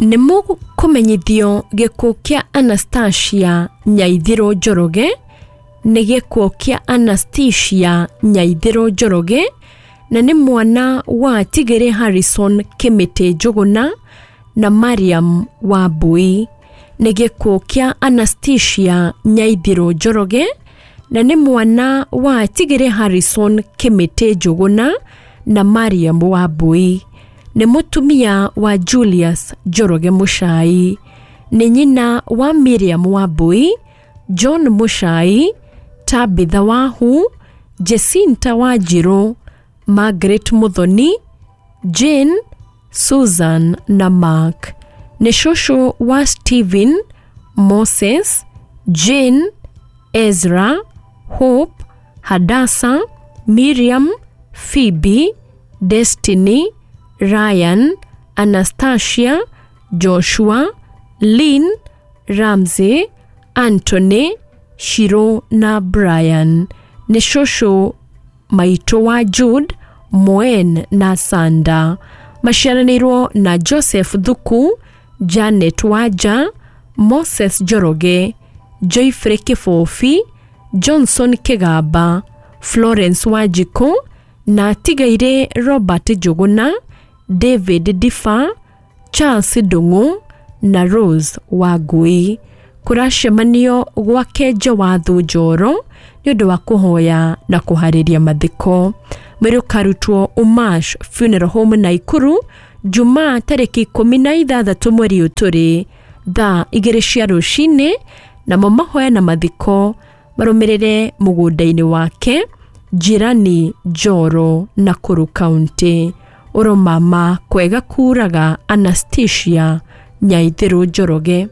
Nĩ mũkũmenyithio gĩkuũ kĩa Anastasia Nyaithĩrũ Njoroge. Nĩ gĩkuũ kĩa Anastasia Nyaithĩrũ Njoroge, na nĩ mwana wa Tigĩrĩ Harrison Kĩmĩtĩ Njũgũna na Mariam Wambui. Nĩ gĩkuũ kĩa Anastasia Nyaithĩrũ Njoroge, na nĩ mwana wa Tigĩrĩ Harrison Kĩmĩtĩ Njũgũna na Mariam Wambui. Nĩ mũtumia wa Julius Njoroge Mũchai. Nĩ nyina wa Miriam Wambui, John Mũchai, Tabitha Wahu, Jacinta Wanjirũ, Margaret Muthoni, Jane, Susan na Mark. Nĩ cũcũ wa Stephen, Moses, Jane, Ezra, Hope, Hadassah, Miriam, Phoebe, Destiny, Ryan, Anastasia, Joshua, Lynn, Ramsey, Anthony, Shiro na Brian. Nĩ cũcũ maitũ wa Jude, Moen na Sanda. Maciaranĩirwo na Joseph Thuku, Janet Wanja, Moses Njoroge, Joyfrey Kĩbũbi, Johnson Kĩgamba, Florence Wanjikũ na atigaire Robert Njũgũna, David Difa, Charles Ndung'u na Rose Wangui. Kũracemanio gwake Njawathu Njoro nĩ ũndũ wa kũhoya na kũharĩria mathiko. Mwĩrĩ ũkarutwo Umash Funeral Home Naikuru Jumaa tarĩki 16 mweri ũyũ tũrĩ thaa 2 cia rũcinĩ, namo mahoya na mathiko marũmĩrĩre mũgũnda-inĩ wake Jirani Njoro, Nakuru County. Ũromama kwega kuraga Anastasia Nyaithĩrũ Njoroge.